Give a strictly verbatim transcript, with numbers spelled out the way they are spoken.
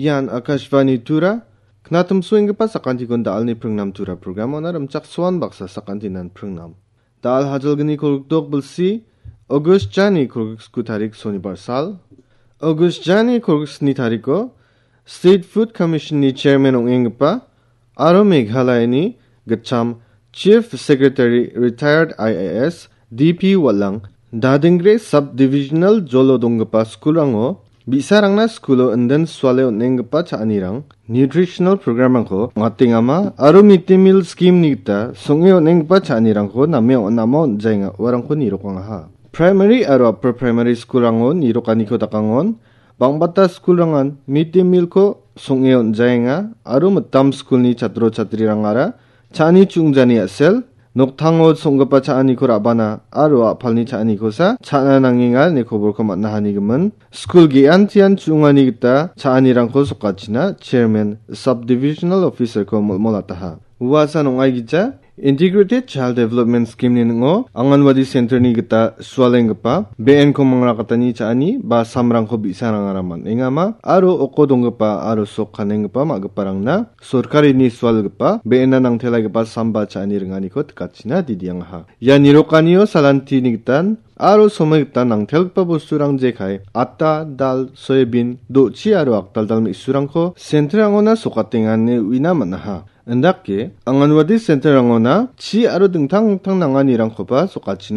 Ian Akashvani Tura, knatimsoenggipa sakantikon da·alni pringnam Tura programona rimchaksoan baksa sakantinan pringnam. Da·al hajalgni kolgrikdok bilsi, August jani kolgriksku tarik sonibar sal. August jani kolgriksni tariko State Food Commissionni chairman ong·enggipa aro Meghalayani gitcham Chief Secretary retired I A S D P Walang Dadingre Subdivisional jolo donggipa skulrango bi·sarangna skulo inden suale on·enggipa cha·anirang, nutritional programrangko ong·atengama aro mid day meal schemeni gita song·e on·enggipa cha·anirangko name on·ama on·jaenga uarangko nirokangaha. Primary aro upper primary skulrango nirokaniko dakangon, bang·bata skulrangan mid day mealko song·e on·jaenga aro mitam skulni chatro chatrirangara cha·ani chu·ongjani a·sel, noktango song·gipa cha·aniko ra·bana aro a·palni cha·anikosa cha·na nangenga ine koborko man·a hanigimin. Skul ge·antian chu·ongani gita cha·anirangko sokachina chairman subdivisional officerko molmolataha. Uasan ong·aigija Integrated Child Development Schemeni ning·o Anganwadi Centerni gita sualenggipa be·enko mangrakatani cha·ani ba samrangko bi·sarangara man·engama aro oko donggipa aro sok kanenggipa ma·giparangna sorkarini sualgipa be·ena nangtelaigipa samba cha·ani ringaniko tikachina didiangaha. Ia nirokanio salantini gitan aro somoi gitan nangtelgipa bosturang jekai, atta, dal, soyabin, do·chi aro akdaldal me·surangko centerangona sokatengane uina man·aha. Indake, Anganwadi centerangona chi aro dingtang dingtang nanganirangkoba sokachina